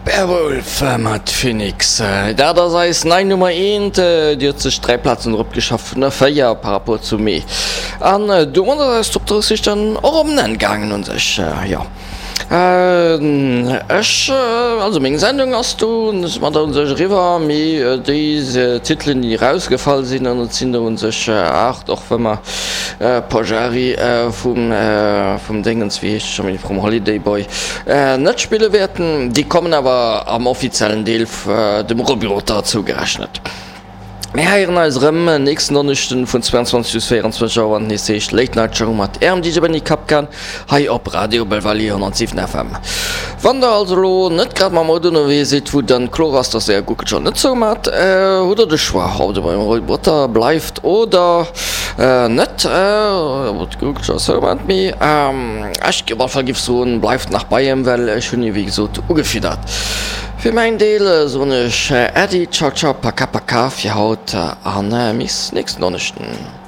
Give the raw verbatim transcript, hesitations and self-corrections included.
Bearwolf mat Phoenix, dat ass eis nei Nummer eent. Déi huet sech dräi Plazen erop geschafft vun der véier par rapport zum Mee. An domat ass eis Top drësseg dann och op en Enn gaangen un sech, jo. Ech, also meng Sendung ass do mat un sech eriwwer, mee déi Titelen déi erausgefall sinn, an et sinn der un sech aacht, och wa mer Pojari vum vum Déngens, wéi heescht e scho méi, vum Holiday Boy net spille wäerten, déi kommen awer am offiziellen Deel dem Roby Rotter zougerechnet. Mir héieren eis erëm nächsten Donneschden vun zweiundzwanzeg bis véierundzwanzeg Auer, wann et nees heescht Late Night Show mat Ärem D J Benny Kapkan hei op Radio Belval honnertsiwen F M. Wann der also elo net grad mam Auto ënnerwee sidd, wou dann kloer ass, dass Är Guckelcher net zou mat, hutt der de Choix, ob der beim Roy Botter bleift oder net. Ob d'Guckelcher zou mat, mee ech op alle Fall giff soen, bleift nach bei em, well ech hunn e wéi gesot ugefiddert. Fir mäin Deel soen ech Äddi, ciao ciao, paka paka fir haut an bis nächsten Donneschden.